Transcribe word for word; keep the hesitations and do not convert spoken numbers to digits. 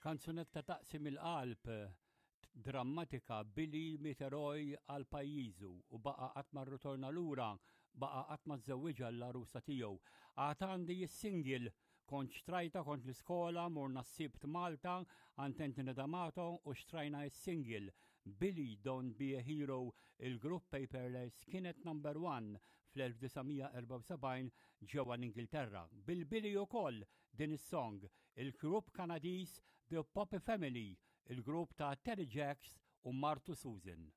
Kanzunetta taqsim il-qalb drammatika Billy miet eroj għal pajjiżu u baqa' qatt ma rritorna lura, baqa' qatt ma żżewwiġha l-għarusa tiegħu. Għad għandi s-single kont xtrajta kont l-iskola, morna s-Sibt Malta, għand Anthony D'Amato u xtrajna s-single Billy Don't Be a Hero il-grupp Paperless kienet number one fl-elf disa' mija erbgħa u sebgħin ġewwa l-Ingilterra. Bil-Billy ukoll din is-song il-grupp Kanadiż The Poppy Family, il-grupp ta' Terry Jacks u martu Susan.